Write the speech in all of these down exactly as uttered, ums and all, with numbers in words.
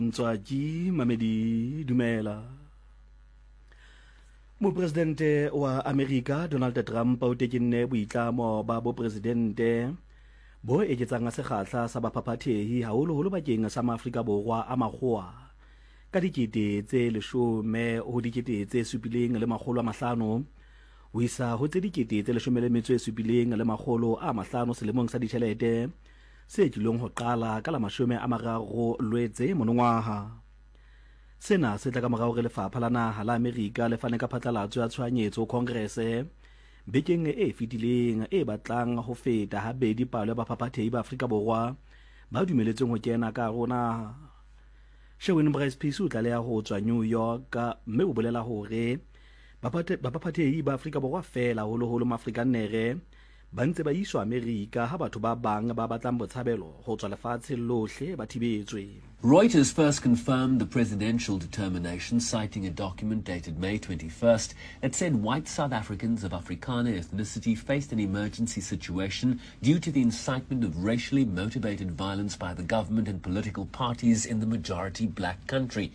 Ntswaki Mamedi dumela. Mopresidente wa Amerika Donald Trump o tekenne boitlamo ba bopresidente bo eketsang sekgahla sa baphaphathehi haholoholo bakeng sa Maafrika Borwa a makgowa ka dikete tse leshome ho dikete tse supileng le makgolo a mahlano ho isa ho tse dikete tse leshome le metso e supileng le makgolo a mahlano selemong sa ditjhelete se tlilong ho qala ka la mashome a mararo Lwetse monongwaha. Sena se tla ka mora hore lefapha la naha la Amerika le fane ka phatlalatso ya tshohanyetso ho Congress bekeng e fetileng e batlang ho feta habedi palo ya baphaphathehi ba Afrika Borwa ba dumeletsweng ho kena ka hare ho naha. Sherwin Bryce Pease o tlaleha ho tswa New York mme o bolela hore baphaphathehi ba Afrika Borwa feela haholoholo Maafrikannere ba ntse ba iswa Amerika ha batho ba bang ba batlang botshabelo ho tswa lefatsheng lohle ba thibetswe. Reuters first confirmed the presidential determination, citing a document dated May twenty-first that said white South Africans of Afrikaner ethnicity faced an emergency situation due to the incitement of racially motivated violence by the government and political parties in the majority black country.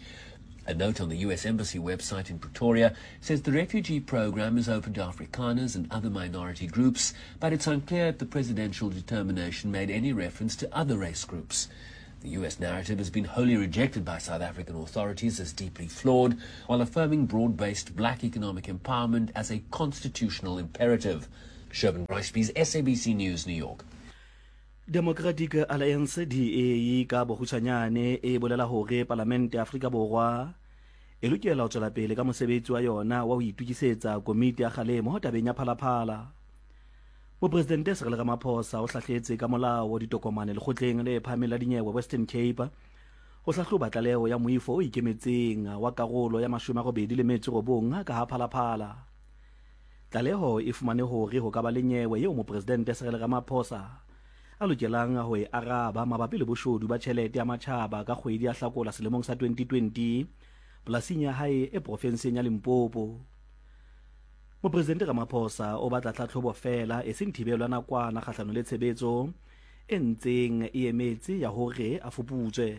A note on the U S Embassy website in Pretoria says the refugee program is open to Afrikaners and other minority groups, but it's unclear if the presidential determination made any reference to other race groups. The U S narrative has been wholly rejected by South African authorities as deeply flawed, while affirming broad-based black economic empowerment as a constitutional imperative. Sherwin Bryce-Pease, S A B C News, New York. Democratic Alliance D A ka bokgutshwanyane e bolela hore Palamente ya Afrika Borwa e lokela ho tswela pele ka mosebetsi wa yona wa ho itokisetsa komiti ya kgalemo tabeng ya Phalaphala. Mopresidente Cyril Ramaphosa o hlahletse ka molao ditokomane lekgotleng le phahameng la dinyewe Western Cape ho hlahloba tlaleho ya moifo o ikemetseng wa karolo ya mashome a robedi le metso e robong ka ha Phalaphala. Tlaleho e fumane hore ho ka ba le nyewe eo mopresidente Cyril Ramaphosa a lokelang ho e araba mabapi le boshodu ba tjhelete ya matjhaba ka kgwedi ya Hlakola selemong sa twenty twenty polasing ya hae e profenseng ya Limpopo. Mopresidente Ramaphosa o batla tlhatlhobo feela e seng thibelo ya nakwana kgahlano le tshebetso e ntseng e emetse ya hore a fuputswe.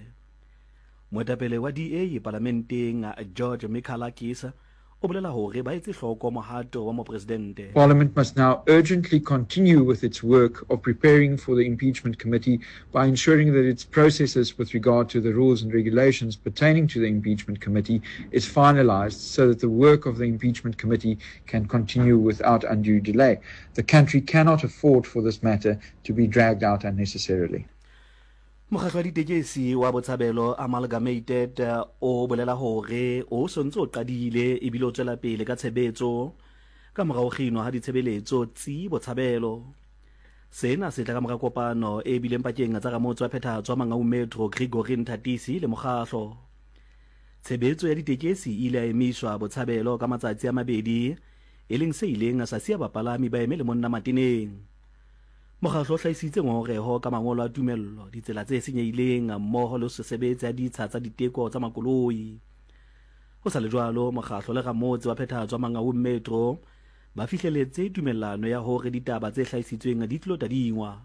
Moetapele wa D A palamenteng George Michalakis o bolela hore ba etse hloko mohato wa mopresidente. Parliament must now urgently continue with its work of preparing for the impeachment committee by ensuring that its processes with regard to the rules and regulations pertaining to the impeachment committee is finalized so that the work of the impeachment committee can continue without undue delay. The country cannot afford for this matter to be dragged out unnecessarily. Mokgatlo wa ditekesi wa Botshabelo Amalgamated o bolela hore o sontse o qadile ebile o tswela pele ka tshebetso ka mora ho kginwa ha ditshebeletso tsi Botshabelo. Sena se tla ka mora kopano e bileng pakeng tsa ramotse wa phethahatso wa Mangaung Metro Gregory Nthatisi le mokgatlo. Tshebetso ya ditekesi e ile ya emiswa Botshabelo ka matsatsi a mabedi, e leng se ileng sa siya bapalami ba eme le monna mateneng. Mokgatlo o hlahisitse ngongoreho ka mangolo a tumello, ditsela tse senyehileng mmoho le ho se sebetse ha ditsha tsa diteko tsa makoloi. Ho sa le jwalo, mokgatlo le ramotse wa phethahatso wa Mangaung Metro ba fihleletse tumellano ya hore ditaba tse hlahisitsweng di tlo tadingwa.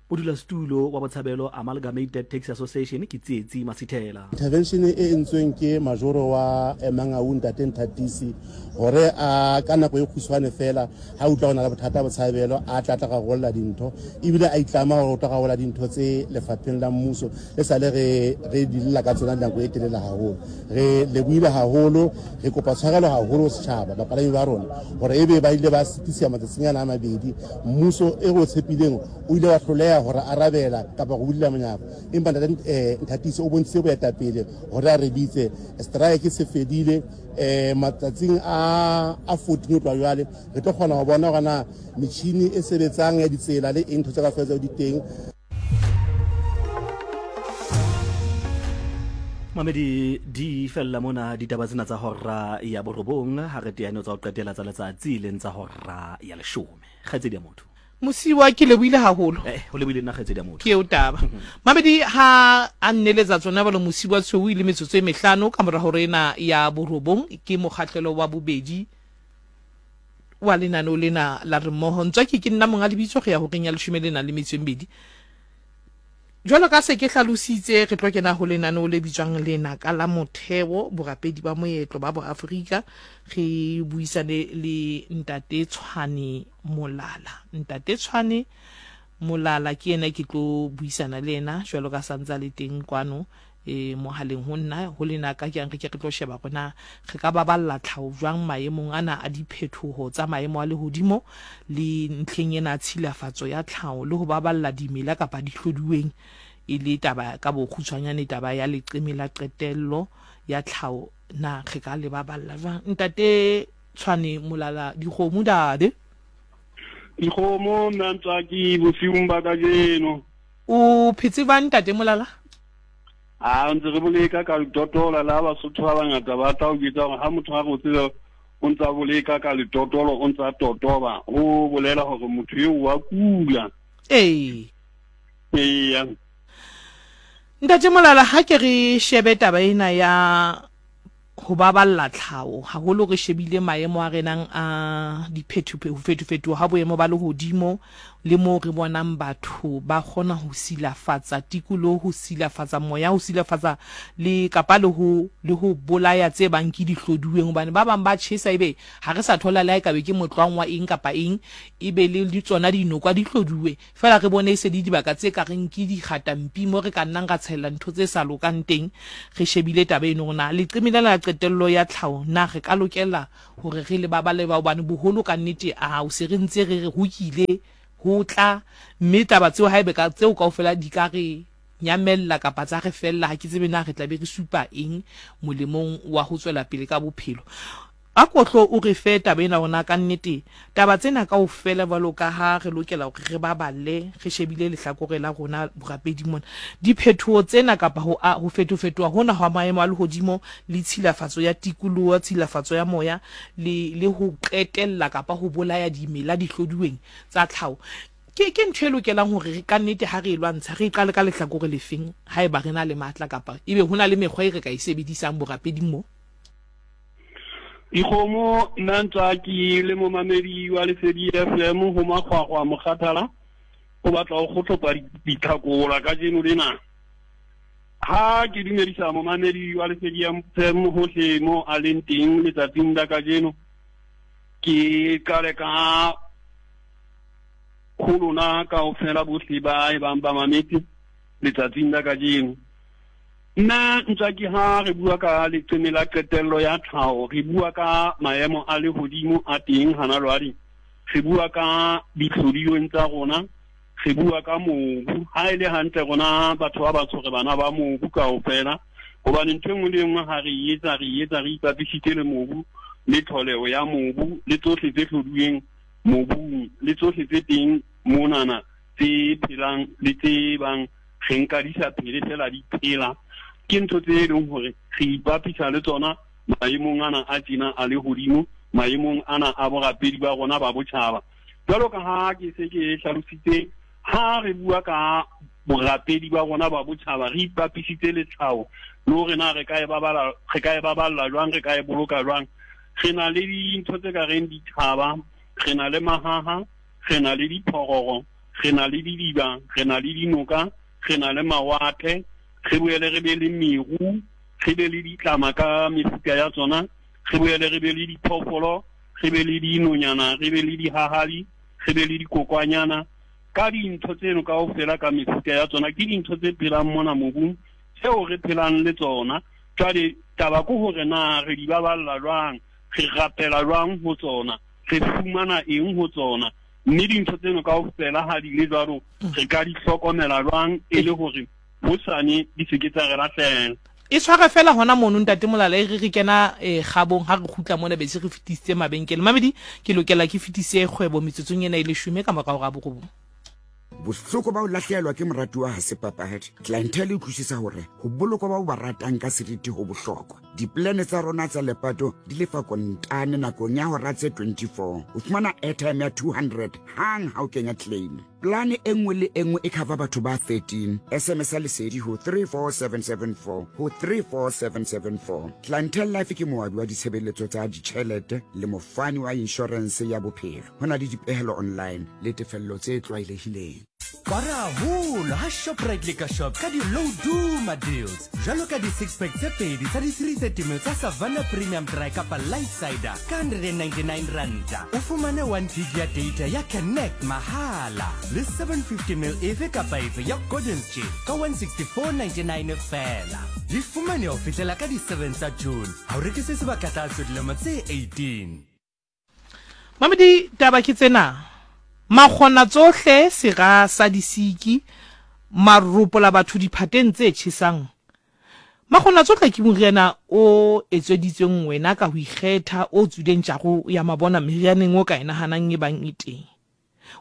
Modulasetulo wa Botshabelo Amalgamated Taxi Association ke Tsietsi Masithela. Intervention e entsweng ke majoro wa Mangaung Ntate Nthatisi hore a ka nako e kgutshwane fela ha utlwa hona le bothata Botshabelo a tla tla rarolla dintho ebile a itlama hore o tla rarolla dintho tse lefapheng la mmuso le sale re re dilla ka tsona nako e telele haholo. Re lebohile haholo, re kopa tshwarelo haholo setjhaba bapalami ba rona hore ebe ba ile ba sitisa matsatsing ana a mabedi. Mmuso e re o tshepileng o ile wa hloleha hore arabela kapa go bulela monyako, empa ntate Nthatisi o bontshitse boetapele hore a re bitse strike se fedile eh matsatsing a a fourteen tloha jwale re tlo kgona ho bona hore na metjhini e sebetsang ya ditsela le eng ntho tse kaofela tseo di teng. Mamedi di fella mona ditaba tsena tsa hora ya borobong ha re teane tsa ho qetela tsa letsatsi leng tsa hora ya leshome. Kgaitsedi ya motho. Mosiwa ke lebohile haholo. Eh, ho lebohile nna kgaitsedi ya motho. Ke eo taba. Mamedi ha a nneletsa tsona balo Mosiwa tshweu ile metsotso e mehlano ka mora hore ena ya borobong ke mokgahlelo wa bobedi wa lenaneo lena la re mmoho. Ntswaki ke nna monga lebitso go ya horeng ya leshome le nang le metso e mmedi. Jwalo ka se ke hlalositse, re tlo kena ho lenaneo le bitswang Lenaka la Motheo, Borapedi ba Moetlo ba Boafrika. Re buisane le Ntate Tshwane Molala. Ntate Tshwane Molala ke yena ke tlo buisana le yena jwalo ka santsa le teng kwano e mohaleng ho nna ho lenaka ke re ke re tlo sheba rona re ka baballa tlhaho jwang maemong ana a diphethoho tsa maemo a lehodimo le ntlheng ena tshilafatso ya tlhaho le ho baballa dimela kapa dihloduweng e le taba ka bokgutshwanyane taba ya leqeme la qetello ya tlhaho na re ka le baballa jwang. Ntate Tshwane Molala, dikgomo dade dikgomo nna ntswaki bosiung ba kajeno. O phetse ba Ntate Molala? A ntse re boleka ka letotolo la Basotho ba bangata ba tla o jwetsa hore ha motho a re o tsebe o ntsa boleka ka letotolo o ntsa totoba, ho bolela hore motho eo wa kula. Ee. Eya. Ntate Molala, ha ke re shebe taba ena ya ho baballa tlhaho, haholo re shebile maemo a renang a diphetho ho fetofetoha ha boemo ba lehodimo le moo re bonang batho ba kgona ho silafatsa tikoloho, ho silafatsa moya, ho silafatsa le kapa le ho le ho bolaya tse bang ke dihloduweng, hobane ba bang ba tjhesa ebe ha re sa thola le ha e kabe ke motlwang wa eng kapa eng, ebe le le tsona dinokwa di hloduwe fela re bone e se le dibaka tse ka reng ke dikgatampi mo re ka nnang ra tshela ntho tse sa lokang teng. Re shebile taba eno rona leqeme lena la qetello ya tlhaho na re ka lokela hore re le baballe ba, hobane boholo ka nnete a o se re ntse re re ho kile ho tla mme taba tseo haebe ka tseo kaofela di ka re nyamella kapa tsa re fella, ha ke tsebe na re tla be re supa eng molemong wa ho tswela pele ka bophelo. A kotlo o re fe taba ena rona ka nnete taba tsena kaofela jwalo ka ha re lokela hore re baballe re shebile lehlakore la rona borapedi mona, diphethoho tsena kapa ho ho fetofetoha hona hwa maemo a lehodimo le tshilafatso ya tikoloho, tshilafatso ya moya le le ho qetella kapa ho bolaya dimela dihloduweng tsa tlhaho, ke ke ntho e lokelang hore ka nnete ha re e lwantsha re qale ka lehlakore lefeng haeba re na le matla kapa ebe ho na le mekgwa e re ka e sebedisang borapeding mo? Dikgomo nna ntswaki le momamedi wa Lesedi F M ho Makgwakgwa Mokgathala o batla ho kgohlopa ditlhakola kajeno lena. Ha ke dumedisa momamedi wa Lesedi F M hohle mo a leng teng letsatsing la kajeno, ke qale ka ho lona kaofela bohle ba e bang ba mametse letsatsing la kajeno. Nna ntswaki ha re bua ka leqeme la qetello ya tlhaho, re bua ka maemo a lehodimo a teng hana jwale, re bua ka ditlhodilweng tsa rona, re bua ka mobu. Ha e le hantle rona batho ba batsho re bana ba mobu kaofela, hobane ntho e nngwe le e nngwe ha re etsa re etsa re ipapisitse le mobu le tlholeho ya mobu le tsohle tse hlodilweng mobung le tsohle tse teng monana tse phelang le tse bang re nka di sa phele fela di phela. Ke ntho tse e leng hore re ipapisa le tsona maemong ana a tjena a lehodimo, maemong ana a borapedi ba rona ba botjhaba. Jwalo ka ha ke se ke hlalositse, ha re bua ka borapedi ba rona ba botjhaba re ipapisitse le tlhaho le hore na re ka e baballa, re ka e baballa jwang, re ka e boloka jwang. Re na le dintho tse ka reng dithaba, re na le mahaha, re na le diphororo, re na le didiba, re na le dinoka, re na le mawatle, re boele re be le meru, re be le ditlama ka mefuta ya tsona, re boele re be le diphoofolo, re be le dinonyana, re be le dihahali, re be le dikokwanyana. Ka dintho tseno kaofela ka mefuta ya tsona ke dintho tse phelang mona mobung tseo re phelang le tsona. Jwale taba ke hore na re di baballa jwang, re rapela jwang ho tsona, re fumana eng ho tsona, mme dintho tseno kaofela ha di le jwalo re ka di hlokomela jwang e le hore hosane di se ke tsa re lahlela. E tshware fela hona mono Ntate Molala, e re re kena eh, kgabong ha re kgutla mona be se re fetisitse mabenkele. Mamedi, ke lokela ke fetise kgwebo metsotsong ena e leshome ka morao ga borobong. Bohloko ba ho lahlehelwa ke moratuwa ha se papadi. Clientele e utlwisisa hore ho bolokwa ba o ba ratang ka seriti ho bohlokwa. Diplane tsa rona tsa lepato di lefa kontane nakong ya hora tse twenty-four. O fumana airtime ya two hundred hang ha o kenya claim. Plane e nngwe le e nngwe e cover batho ba thirteen. S M S ya Lesedi ho three four seven seven four ho three four seven seven four. Clientele Life ke moabi wa ditshebeletso tsa ditjhelete le mofani wa insurance ya bophelo. Ho na le dipehelo online le tefello tse tlwaelehileng. Kwara haholo ha Shoprite Liquor Shop ka di-low duma deals jwalo ka di-six pack tse pedi tsa di-three thirty ml tsa Savanna Premium Dry kapa Light Cider ka hundred and ninety-nine ranta. O fumane one gig ya data ya Connect mahala le seven fifty ml efe kapa efe ya Gordon's Gin ka one sixty-four ninety-nine feela. Di fumane ho fihlela ka di-seven tsa June. Ha o rekise sebaka tlase dilemo tse eighteen. Mamedi, taba ke tsena. Makgona tsohle sera sa disiki maropo la batho diphateng tse tjhesang. Makgona tsohle ke moriana o etsweditsweng wena ka ho ikgetha o tswileng tjaro ya mabona merianeng o ka e nahanang e bang e teng.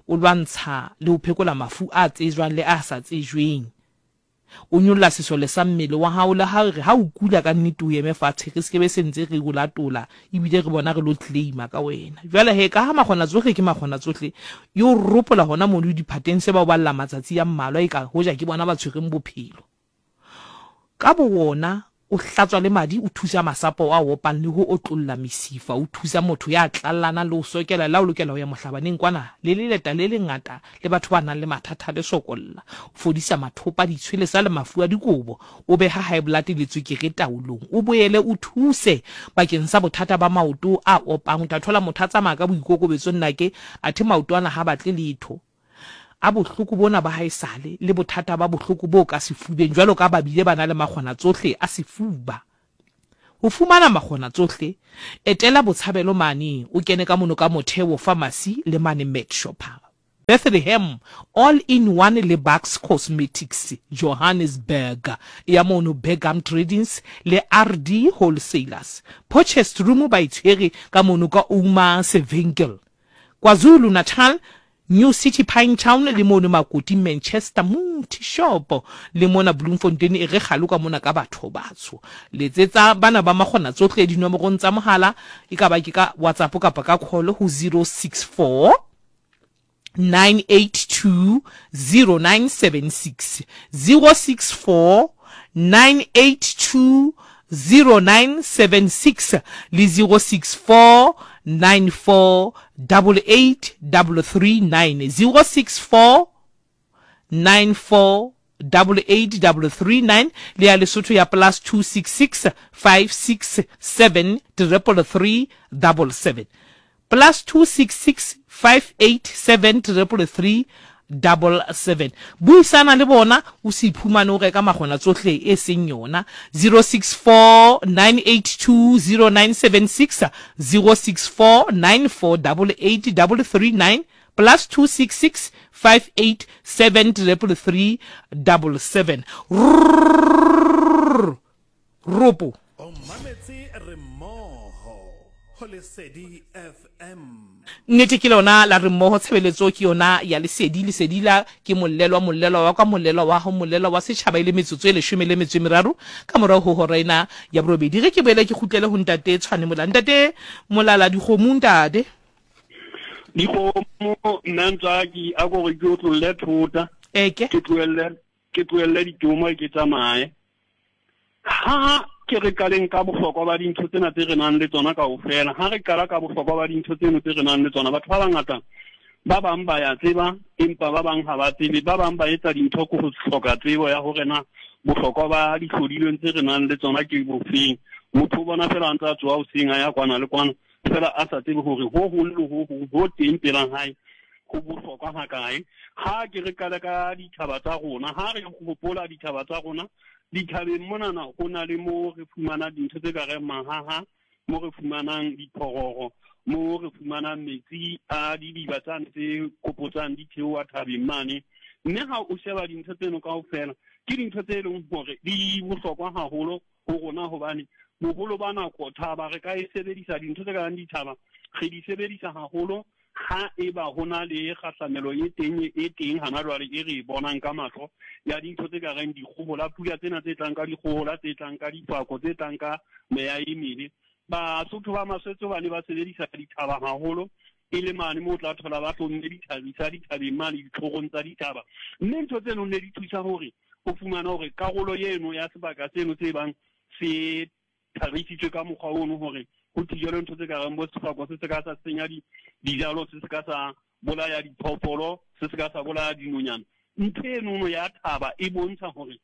O lwantsha le ho phekola mafu a tsejwang le a sa tsejweng. O nyolla sesole sa mmele wa hao le ha re ha o kula ka nnete o eme fatshe re se ke be sentse re o latola ebile re bona re lo claima ka wena. Jwale he ka ha makgona tsohle ke makgona tsohle yo ropola hona mono diphateng se ba o balla matsatsi a mmalwa e ka hoja ke bona ba tshwereng bophelo. Ka bo wona o hlatswa le madi o thusa masapo a opang le ho otlolla mesifa o thusa motho ya tlallana le ho sokela la o lokela ho ya mohlabaneng kwana le leleta le lengata le batho ba nang le mathata le sokolla o fodisa mathopa ditshwele sa le mafu a dikobo o beha high blood le tswekere taolong o boele o thuse bakeng sa bothata ba maoto a opang o tla thola motho a tsamaya ka boikokobetso nnake athe maoto ana ha batle letho a bohloko bona ba haesale le bothata ba bohloko bo ka sefubeng jwalo ka ba bile ba na le makgona tsohle a sefuba. Ho fumana makgona tsohle etela Botshabelo mane o kene ka mono ka Motheo Pharmacy le mane Med Shopper Bethlehem All in One le Bucks Cosmetics Johannesburg ya mono Begum Tradings le R D Wholesalers Potchefstroom ba itshwere ka mono ka Uma Sevinkel KwaZulu Natal New City Pine Town le mono Makoti Manchester Muti Shop le mona Bloemfontein e re kgalo ka mona ka batho batsho letsetsa bana ba makgona tsohle dinomorong tsa mohala e ka ba ke ka WhatsApp kapa ka call ho zero six four nine eight two zero nine seven six zero six four nine eight two zero nine seven six le zero six four nine four double eight double three nine zero six four nine four double eight double three nine le ya Lesotho ya plus two six six five six seven triple three double seven plus two six six five eight seven triple three double seven. Buisana le bona o se iphumane o reka makgona tsohle e seng yona zero six four nine eight two zero nine seven six zero six four nine four double eight double three nine plus two six six five eight seven triple three double seven. Ropo o mametse re mmoho ho Lesedi F M. Nnete ke lona la re mmoho tshebeletso ke yona ya Lesedi. Lesedi la ke mollelwa mollelwa wa ka mollelwa wa ho mollelwa wa setjhaba ile metsotso e leshome le metso e meraro ka morao ho hora ena ya borobedi. Re ke boele ke kgutlele ho ntate Tshwane Molala. Ntate Molala, dikgomo ntate dikgomo nna ntsaki a go re ke o tlolle thota eke ke tlohelle ke tlohelle ditomo ke tsamaye ha ke re kaleng ka bohlokwa ba dintho tsena tse re nang le tsona kaofela. Ha re qala ka bohlokwa ba dintho tseno tse re nang le tsona, batho ba bangata ba bang ba ya tseba empa ba bang ha ba tsebe, ba bang ba etsa dintho ko ho hloka tsebo ya hore na bohlokwa ba dihlodilweng tse re nang le tsona ke bofeng. Motho o bona fela a ntse a tsoha hoseng a ya kwana le kwana fela a sa tsebe hore ho hong le ho hong ho teng pela hae ho bohlokwa hakae. Ha ke re qala ka dithaba tsa rona, ha re hopola dithaba tsa rona dithabeng monana ho na le mo re fumana dintho tse ka reng mahaha, mo re fumanang diphororo, mo re fumanang metsi a didiba tsane tse kopotsang di theoha thabeng mane. Mme ha o sheba dintho tseno kaofela ke dintho tse leng hore di bohlokwa haholo ho rona, hobane boholo ba nako thaba re ka e sebedisa, dintho tse ka reng dithaba re di sebedisa haholo ha eba ho na le kgahlamelo e teng e teng hana jwale e re bonang ka mahlo ya dintho tse ka reng dikgohola, pula tsena tse tlang ka dikgohola, tse tlang ka difako, tse tlang ka meya e mebe. Basotho ba Maswetso ba ne ba sebedisa dithaba haholo e le mane moo o tla thola ba hlomme dithabisa dithabeng mane ditlhorong tsa dithaba, mme ntho tseno ne di thusa hore o fumane hore karolo eno ya sebaka seno se bang se thabisitswe ka mokgwa ono hore ho thijelwe ntho tse ka reng bo sefako se se ka sa senya dijalo, se se ka sa bolaya diphoofolo, se se ka sa bolaya dinonyana. Ntho enono ya thaba e bontsha hore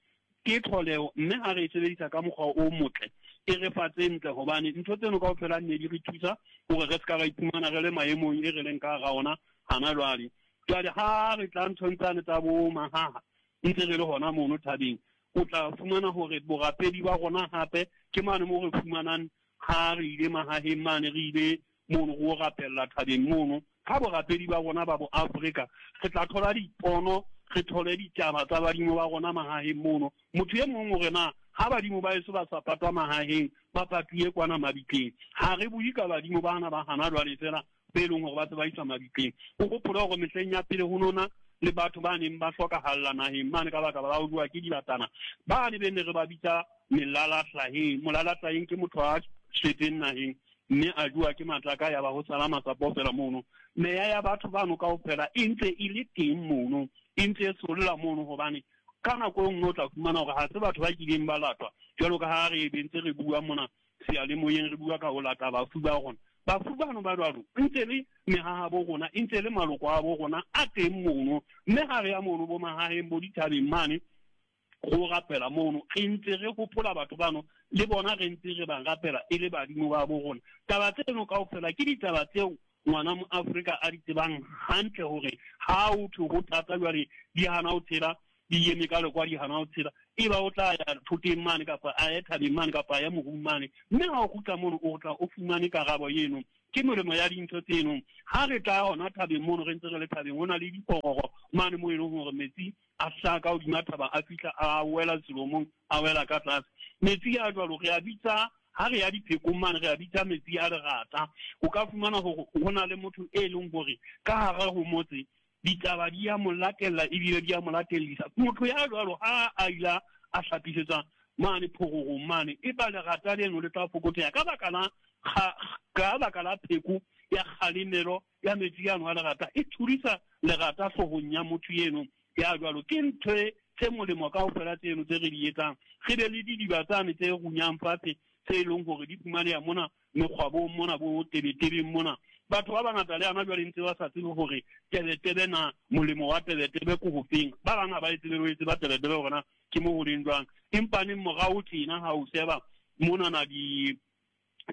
ke tlholeho, mme ha re e sebedisa ka mokgwa o motle e re fa tse ntle, hobane ntho tseno kaofela ne di re thusa hore re se ka ra iphumana re le maemong e re leng ka hara ona hana jwale. Jwale ha re tla nthong tsane tsa bo mahaha ntse re le hona mono thabeng, o tla fumana hore borapedi ba rona hape ke mane moo re fumanang ha re ile mahaheng mane, re ile mono ho rapella thabeng mono. Ka borapedi ba rona ba bo Afrika re tla thola dipono, re thole ditaba tsa badimo ba rona mahaheng mono. Motho e mong o re na ha badimo ba eso ba sa patwa mahaheng, ba patuwe kwana mabitleng. Ha re bue ka badimo bana ba hana jwale fela be leng hore ba se ba iswa mabitleng. O hopole hore mehleng ya pele ho nona le batho ba neng ba hlokahalla naheng mane ka baka ba bua ke dibatana, ba ne be ne re ba bitsa melala hlaheng. Molala hlaheng ke motho a shwetseng naheng mme a jua ke matlaka ya ba ho sala masapo fela mono. Meya ya batho bano kaofela e ntse e le teng mono, e ntse e solla mono, hobane ka nako e nngwe o tla fumana hore ha se batho ba kileng ba latwa jwalo ka ha re be ntse re bua mona seyalemoyeng, re bua ka ho lata bafu ba rona. Bafu bano ba jwalo ntse le mehaha bo rona, e ntse le maloko a bo rona a teng mono, mme ha re ya mono bo mahaheng bo dithabeng mane go rapela mono, re ntse re hopola batho bano le bona re ntse re ba rapela e le badimo ba bo rona. Taba tseno kaofela ke ditaba tseo ngwana mo Afrika a di tsebang hantle hore ha o thwe ho thata jwale di hana ho tshela, di eme ka lekwa di hana ho tshela, e ba o tla ya thoteng mane kapa a ye thabeng mane kapa a ye morung mane, mme ha o kgutla mono o tla o fumane karabo eno. Ke molemo ya dintho tseno. Ha re tla hona thabeng mono, re ntse re le thabeng, ho na le dipororo mane moo e leng hore metsi a hlaha ka hodima thaba a fihla a wela selomong, a wela ka tlase. Metsi a jwalo re a bitsa ha re ya diphekong mane, re a bitsa metsi a lerata. O ka fumana hore ho na le motho e leng hore ka hara ho motse ditaba di ya mo latella ebile di ya mo latellisa. Motho ya jwalo ha a ila a hlapisetswa mane phororong mane, e ba lerata leno le tla fokotseha ka baka la ka baka la pheko ya kgalemelo ya metsi ano a lerata, e thudisa lerata hloohong ya motho eno ya jwalo. Ke ntho tse molemo kaofela tseno tse re di etsang. Re be le didiba tsane tse runyang fatshe tse leng hore di fumaneha mona mekgwabong mona bo tebetebeng mona. Batho ba bangata le hana jwale ntse ba sa tsebe hore tebetebe na molemo wa tebetebe ke hofeng. Ba bang ha ba e tsebe le ho e tseba tebetebe hore na ke mo ho leng jwang. Empa neng morao tjena ha o sheba monana di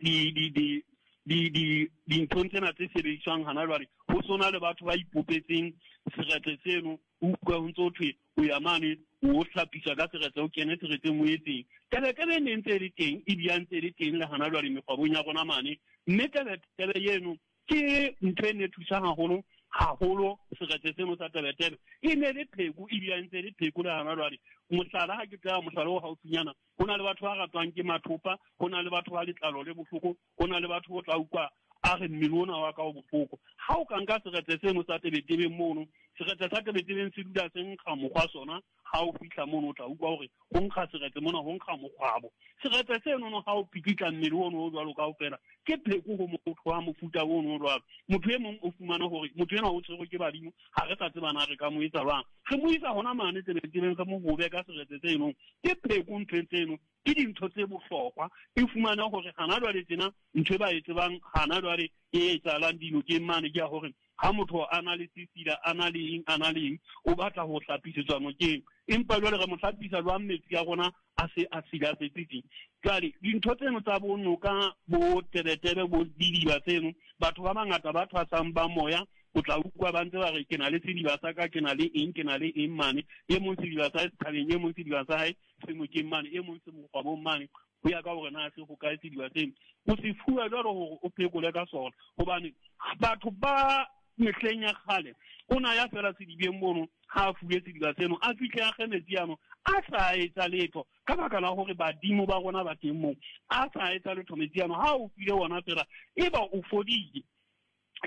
di di di di di dinthong tsena tse sebediswang hana jwale, ho sona le batho ba ipopetseng seretse seno, o utlwa ho ntso ho thwe o ya mane o hlapisa ka seretse, o kene seretseng o etseng. Tebetebe e ne ntse e le teng, ebile a ntse e le teng le hana jwale mekgwabong ya rona mane. Mme tebetebe eno ke ntho e ne thusa haholo haholo seretse seno sa tebetebe. E ne le pheko, ebile a ntse e le pheko le hana jwale. Mohlala ha ke tla mohlala o haufinyana, ho na le batho ba ratwang ke mathopa, ho na le batho ba letlalo le bohloko, ho na le batho bo tla utlwa a re mmele ona wa ka o bohloko. Ha o ka nka seretse seno sa tebetebeng mono, seretse sa tebetebeng se dula se nkga mokgwa sona. Ha o fihla mono o tla utlwa hore ho nkga seretse mona, ho nkga mokgwabo. Seretse seno no ha o pikitla mmele ono o jwalo kaofela, ke pheko ho motho wa mofuta ono o jwalo. Motho e mong o fumana hore motho enwa o tshwerwe ke badimo, ha re sa tseba na re ka mo etsa jwang. Re mo isa hona mane tebetebeng, re mo hobe ka seretse seno. Ke pheko ntho tseno, ke dintho tse bohlokwa. E fumana hore hana jwale tjena ntho e ba e tsebang hana jwale e etsahalang dinokeng mane ke ya hore ha motho a na le sesila, a na le eng, a na le eng, o batla ho hlapisetswa nokeng. Empa jwale re mo hlapisa jwang metsi a rona a se a silafetse teng? Jwale dintho tseno tsa bo noka, bo tebetebe, bo didiba tseno, batho ba bangata ba thwasang ba moya, o tla utlwa ba ntse ba re ke na le sediba sa ka, ke na le eng, ke na le eng mane. E mong sediba sa hae se thabeng, e mong sediba sa hae se nokeng mane, e mong se mokgwabong mane, ho ya ka hore na se hokae sediba seno. O se fuwa jwalo hore o phekole ka sona, hobane batho ba mehleng ya kgale o na ya fela sedibeng mono, ha a fuwe sediba seno, a fihle a kge metsi ano, a sa etsa letho ka baka la hore badimo ba rona ba teng moo. A sa etsa letho metsi ano, ha o file ona fela e ba o fodile.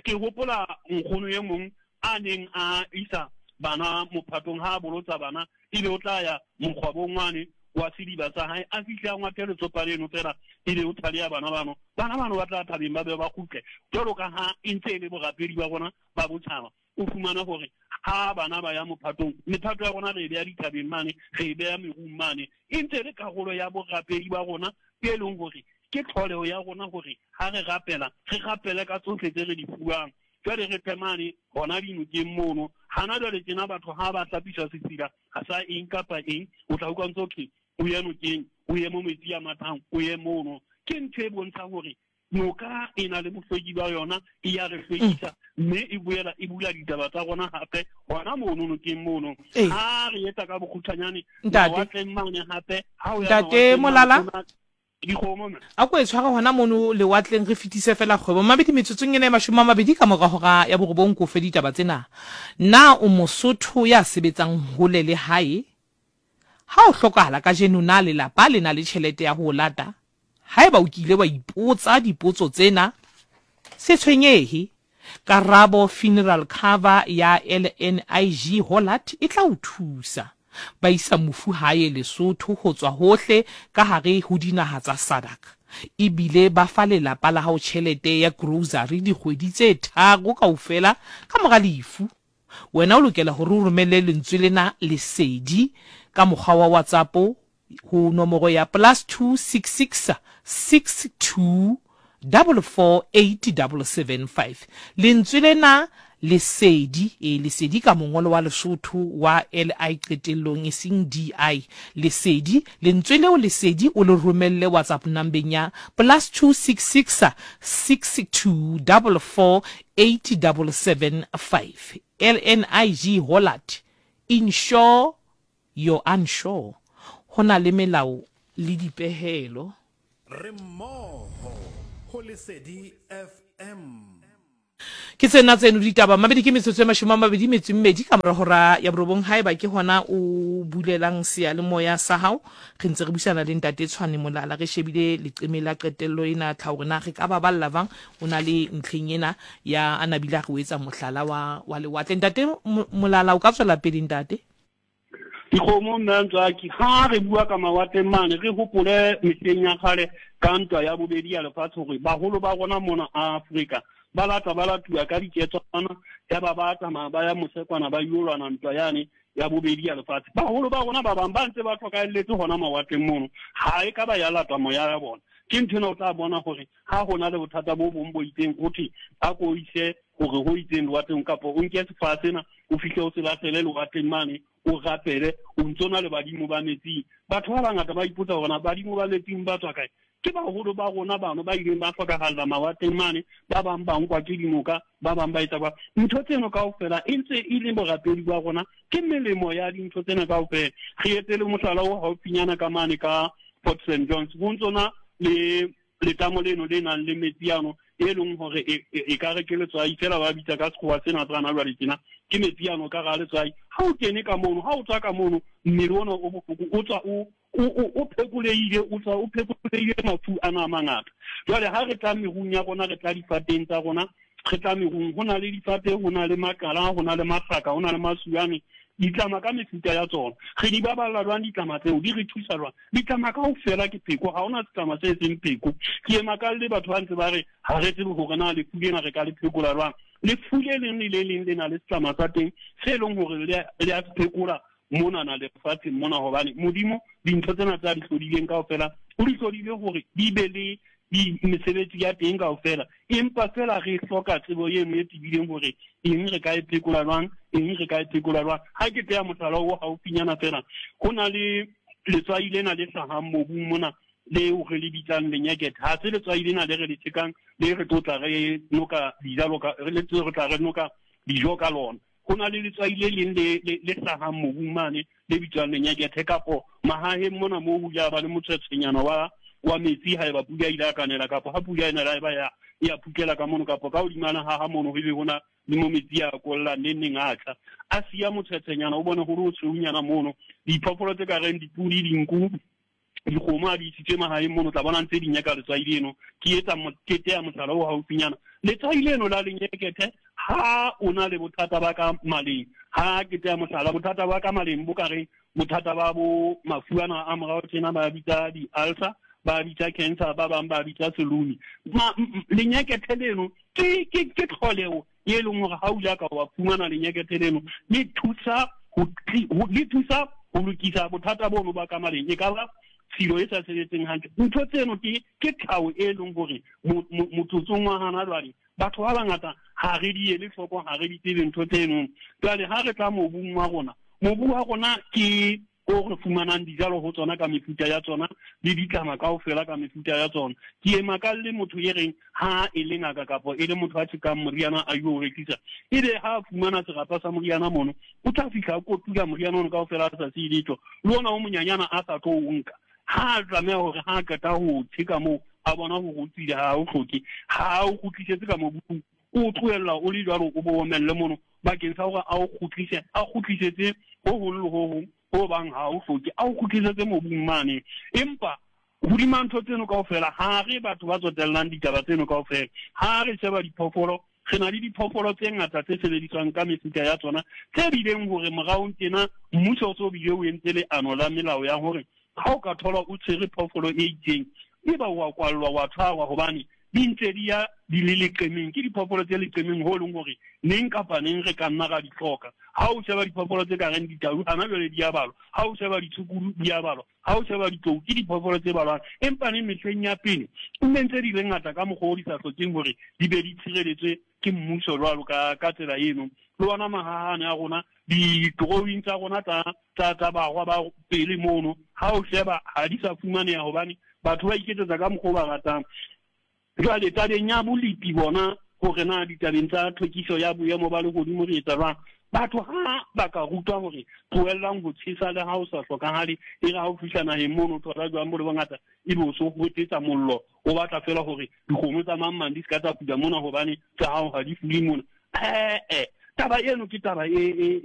Ke hopola nkgono e mong a neng a isa bana mophatong, ha a bolotsa bana, ebe o tla ya mokgwabong wane wa sediba sa hae, a fihle a ngwathe letsopa leno fela, ebe o thaleya bana bano. Bana bano ba tla thabeng ba be ba kgutle, jwalo ka ha e ntse e le borapedi ba rona ba botjhaba. O fumana hore ha bana ba ya mophatong, mephato ya rona re e beha dithabeng mane, re e beha merung mane, e ntse e le karolo ya borapedi ba rona e leng hore Ke tlholeho ya rona hore ha re rapela, re rapele ka tsohle tse re di fuwang. Jwale re tle mane hona dinokeng mono. Hana jwale tjena batho ha ba hlapiswa sesila, ha sa eng kapa eng, o tla utlwa ntse ho thwe o ye nokeng, o ye mo metsi a mathang, o ye mono. Ke ntho e bontshang hore noka e na le bohlweki ba yona, e ya re hlwekisa, mme e boela e bula ditaba tsa rona hape hona mono nokeng mono. Ha re etsa ka bokgutshwanyane, mawatleng mane hape, ha o ya Ntate mawatleng mane, Molala, ho na dikgomo mme. A ko e tshware hona mono lewatleng re fetise fela kgwebo. Mabedi metsotsong ena e mashome a mabedi ka mora hora ya borobong ko fe ditaba tsena. Na o Mosotho ya sebetsang hole le hae? Ha o hlokahala kajeno na lelapa le na le tjhelete ya ho o lata? Haeba o kile wa ipotsa dipotso tsena, se tshwenyehe. Karabo Funeral Cover ya L N I G Hollard e tla o thusa. Ba isa mofu hae Lesotho ho tswa hohle ka hare ho dinaha tsa SADC. Ebile ba fa lelapa la hao tjhelete ya grocery dikgwedi tse tharo kaofela ka mora lefu. Wena o lokela hore o romelle lentswe lena Lesedi ka mokgwa wa WhatsApp ho nomoro ya plus two six six six two double four eight double seven five. Lentswe lena Lesedi, e Lesedi ka mongolo wa Lesotho wa L I qetellong e seng D I. Lesedi, lentswe leo Lesedi o le romelle WhatsApp nambeng ya plus two six six six two double four eight double seven five. L N I G Hollard, insure your unsure. Ho na le melao le dipehelo. Re mmoho ho Lesedi F M. Ke tsena tseno ditaba mabedi ke metsotso e mashome a mabedi metso e mmedi ka mora hora ya borobong. Haeba ke hona o bulelang seyalemoya sa hao, re ntse re buisana le ntate Tshwane Molala, re shebile leqeme la qetello ena tlhaho hore na re ka baballa jwang. O na le ntlheng ena ya a nabile a re o etsa mohlala wa, wa lewatle. Ntate Mo-, Molala, o ka tswela pele ntate? Dikgomo mme Ntswaki, ha re bua ka mawatleng mane, re hopole mehleng ya kgale ka ntwa ya bobedi ya lefatshe hore baholo ba rona mona Afrika ba lata ba latuwa ka diketswana, ya ba ba tsamaya ba ya mosekwana ba yo lwana ntwa yane ya bobedi ya lefatshe. Baholo ba rona ba bang ba ntse ba hlokahelletse hona mawatleng mono, ha e ka ba ya latwa moya ya bona. Ke ntho ena o tla bona hore ha ho na le bothata bo bong bo itseng, ho thwe a ko ise hore ho itseng lewatleng, kapa o nke sefaha sena o fihle o se lahlele lewatleng mane, o rapele, o ntso na le badimo ba metsing. Batho ba bangata ba ipotsa hore na badimo ba metsing ba tswa kae. Ke baholo ba rona bano ba ileng ba hlokahalla mawatleng mane, ba bang ba nkwa ke dinoka, ba bang ba etsa kwa. Ntho tseno kaofela e ntse e le borapedi ba rona, ke melemo ya dintho tsena kaofela. Re etse le mohlala o haufinyana ka mane ka Port Saint John's, ho ntso na le letamo leno le nang le metsi ano e leng hore e, e, e ka re ke letswai fela, ba bitsa ka sekgowa sena tsa hona jwale tjena, ke metsi ano ka hara letswai. Ha o kene ka mono, ha o tswa ka mono, mmele ona o bohloko o tswa o, o, o, o phekolehile, o tswa o phekolehile mafu ana a mangata. Jwale ha re tla merung ya rona, re tla difateng tsa rona, re tla merung, ho na le difate, ho na le makala, ho na le mahlaka, ho na le masuane, ditlama ka mefuta ya tsona. Re di baballa jwang ditlama tseo? Di re thusa jwang? Ditlama kaofela ke pheko, ha hona setlama se seng pheko. Ke ema ka le batho ba ntse ba re ha re tsebe hore na lefu lena re ka le phekola jwang. Lefu le leng le le leng le na le setlama sa teng se leng hore le a, le a se phekola monana lefatsheng mona, hobane Modimo dintho tsena tsa di hlodileng kaofela o di hlodile hore di be le di mesebetsi ya teng kaofela, empa fela re hloka tsebo eno e tebileng hore eng re ka e phekola jwang, eng re ka e phekola jwang. Ha ke teya mohlala o haufinyana fela, ho na le letswai lena le hlahang mobung mona leo re le bitsang lenyekethe. Ha se letswai lena le re le tjekang, le re tlo tla re noka dijalo ka, re le re tla re noka dijo ka lona. Ho na le letswai le leng le, le, le hlahang mobung mane le bitswang lenyekethe, kapo mahaheng mona moo ho ja ba le motshwetshwenyana wa, wa metsi haeba pula ile ya kanela, kapa ha pula ena ya ba ya, ya phukela ka mono, kapa ka hodima ha ha mono ho be hona le mo metsi a kollang neng neng a tla. A siya motshwetshwenyana, o bone hore o tshweunyana mono. Diphoofolo tse ka reng dipudi, dinku, dikgomo ha di isitswe mahaeng mono, tla bona ntse di nyaka letswai leno. Ke etsa mo-, ke teya mohlala o haufinyana. Letswai leno la lenyekethe, ha o na le bothata ba ka maleng, ha ke teya mohlala, bothata ba ka maleng bo ka reng bothata ba bo mafu ana a morao tjena ba bitsa di-ulcer, ba bitsa cancer, ba bang ba bitsa selumi. Ma-, m-, m-, lenyekethe leno ke, ke, ke tlholeho e leng hore ha o ile ka wa fumana lenyekethe leno, le thusa ho tli-, ho, le thusa ho lokisa bothata bono ba ka maleng. E ka ba tshilo e sa sebetseng hantle. Ntho tseno ke ke tlhaho e leng hore motsotsong wa hana jwale batho ba bangata ha re di ele hloko, ha re di tsebe ntho tseno. Jwale ha re tla mobung wa rona, mobu wa rona ke o re fumanang dijalo ho tsona ka mefuta ya tsona le ditlama kaofela ka mefuta ya tsona. Ke e makalle motho e reng ha e le ngaka kapa e le motho a tjhekang moriana a yo rekisa, ebe ha a fumana serapa sa moriana mono, o tla fihla a kotula moriana ono kaofela a sa siye letho, le ona o monyanyana a sa tlo o nka. Ha a tlameha hore ha a qeta ho tjheka moo, a bona hore o tswile, ha o hloke, ha o kgutlisetse ka mobung, o tlohella o le jwalo, o bo omelle mono bakeng sa hore a o kgutlise, a kgutlisetse ho hong le ho hong ho bang ha o hloke, a o kgutlisetse mobung mane. Empa hodima ntho tseno kaofela, ha re batho ba tsotellang ditaba tseno kaofela. Ha re sheba diphoofolo, re na le diphoofolo tse ngata tse sebediswang ka mefuta ya tsona, tse bileng hore moraong tjena mmuso o so bile o entse leano la melao ya hore ha o ka thola o tshwere phoofolo e itseng, eba wa kwallwa, wa tshwarwa, hobane di ntse di ya di le leqemeng. Ke diphoofolo tse leqemeng ho leng hore neng kapa neng re ka nna ra di hloka. Ha o sheba diphoofolo tse ka reng ditau, hana jwale di a balwa. Ha o sheba ditshukudu, di a balwa. Ha o sheba ditlou, ke diphoofolo tse balwang. Empa neng mehleng ya pele, nne ntse di le ngata ka mokgwa o di sa hlokeng hore di be di tshireletswe ke mmuso jwalo ka, ka tsela eno. Le ona mahahane a rona, di-drawing tsa rona tsa, tsa, tsa barwa ba pele mono, ha o sheba ha di sa fumaneha hobane batho ba iketsetsa ka mokgwa o ba ratang. Jwale tabeng ya bolepi bona, hore na ditabeng tsa tlhwekiso ya boemo ba lehodimo re etsa jwang, batho ha ba ka rutwa hore tlohellang ho tjhesa le ha o sa hlokahale, e re ha o fihla naheng mono o thola jwang bo le bongata, ebe o so hotetsa mollo, o batla feela hore dikgomo tsa mang mang di se ka tsa fula mona hobane tsa hao ha di fule mona. Eh, eh, taba eno ke taba e, e,